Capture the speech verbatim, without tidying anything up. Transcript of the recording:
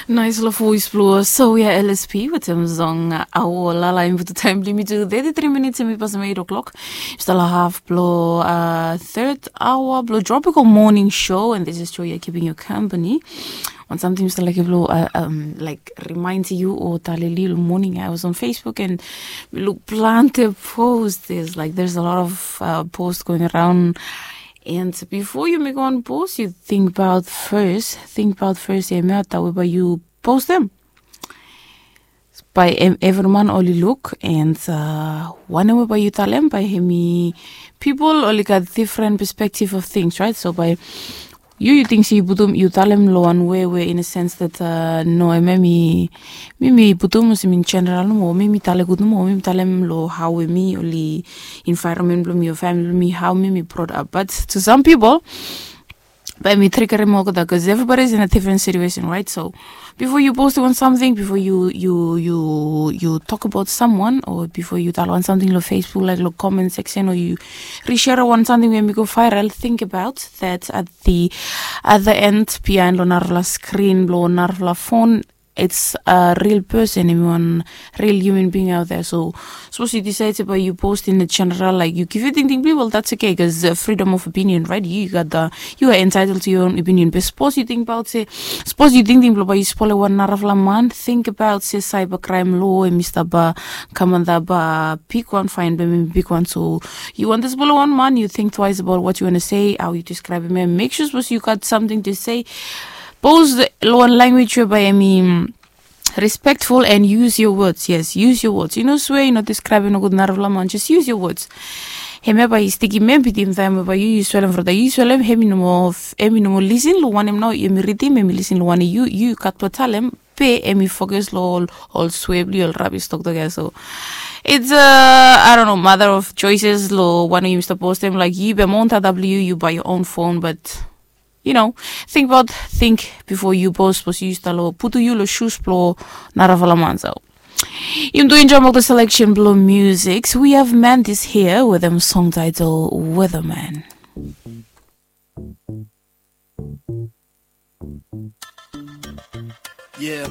Naisfala voes blong Soya L S P wetem song Awo Lala. Hemi putum taem blong yumi tu thirty-three minutes, hemi pasem eight o'clock. Yumi stap long haf blong third hour blong Tropical Morning Show, and this is Joya keeping you company. Wan samting mi stap laekem blong, like, remind yu o talem yu long moning, I was on Facebook and mi luk plante post. There's, like, there's a lot of post going around. And bifo yu mekem wan post, yu tingbaot fes, tingbaot fes hemia, tawe bae yu postem. Bae evri man oli luk, and wanem we bae yu talem, bae hemi, pipol oli gat different perspective of things, right? So bae yu, yu ting se yu putum, yu talem long wan wei we in a sense that, no, hemia mi, mi mi putum olsem in general nomo, mi mi talem gud nomo, mi mi talem long hao we mi oli, environment blong mi o famili blong mi, hao mi mi brought up. But to some people, bae mi triggerem olgeta, 'cause everybody is in a different situation, right? So bifo yu postem wan samting, bifo yu, yu, yu, yu tokbaot someone, o bifo yu talem wan samting long Facebook, laek long comment section, o yu rishare wan samting we hemi go viral, tingbaot that at the, at the end, biaen long narafala screen blong narafala phone, it's a real person, hemi wan real human being out there. So sapos yu disaed se bae yu post in a general, laek, yu givim tingting blong yu, well, that's okay, 'cause freedom of opinion, right? Yu gat, yu are entitled to your own opinion. Be sapos yu tingbaot se, sapos yu tingting blong bae yu spolem wan narafala man, tingbaot se cyber crime law hemi stap kam antap bigwan, fine blong hem hemi bigwan. So yu wan dispolem wan man, yu think twice about what you wanna say, hao yu describem hem. Make sure sapos yu gat samting to say, post long wan language we bae hemi respectful and use your words. Yes, use your words. Yu no swea, yu no describem nogud narafala man, just use your words. Hemia bae i stikim hem bitim taem we bae yu, yu swelem, from taem yu swelem, hemi no moa, hemi no moa lisin long wanem nao hemi ridim, hemi lisin long wanem yu, yu gat blong talem, be hemi focus long ol, ol swea blong yu, ol rabis toktok ia. So it's a, I don't know, matter of choices long wanem yumi stap postem, laek, yu be maon data blong yu, yu bae your own phone, but you know, tingbaot, ting bifo yu post, sapos yu stap long, putum yu long shoes blong narafala man. So yumi tu enjoem olgeta selection blong music. So we have Mandis hia wetem song title Weatherman. Yeah.